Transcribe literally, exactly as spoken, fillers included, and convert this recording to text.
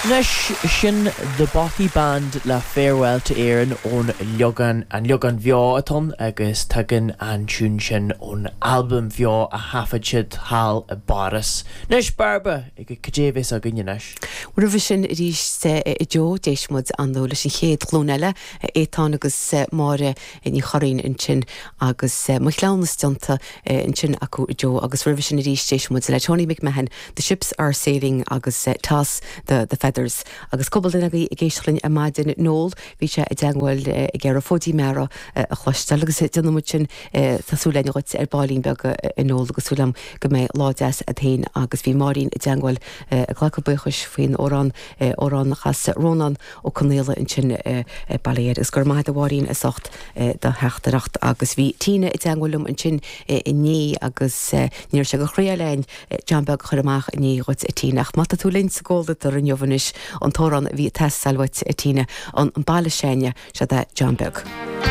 Anois sin The Bothy Band le Farewell to Erin ón leagan an leagan beo atá ann agus tagann an tiún sin ón albam beo a thaifead siad thall i bPáras. Anois Bairbre ag cad é a bheas againn anois. Roimhe sin arís a Joe d'éist muid ansin leis an chéad ghlúin eile Étáin agus Máire Ní Churraoin ansin agus mo chleamhnas déanta ansin acu a Joe agus roimhe sin arís d'éist muid le Tony McMahon, The Ships Are Sailing agus Toss the, the Feathers. Agus cúpla duine agaibh ag éisteacht linn ar maidin Noel bhí sé i dteagmháil ag iarraidh Fóidín Meara a chloisteáil agus déanfaidh muid sin tá súil againn dhuit ar baillín beag a Noel agus súil agam go mbeidh lá deas agat féin agus bhí Máirín i dteagmháil ag glacadh buíochais faoin amhrán amhrán a chas Rónán Ó Conaola ansin baile agus gur maith a Mháirín as ucht do theachtaireacht agus bhí Tina i dteagmháil liom ansin inné agus níor sé go chroí lein John Beag chur amach inné dhuit a Tina ach má tá tú linn sa gcomhluadar inniu anois an t-amhrán a bhí ag teastáil uait a Tina an an baile s'againne sé de John Beag.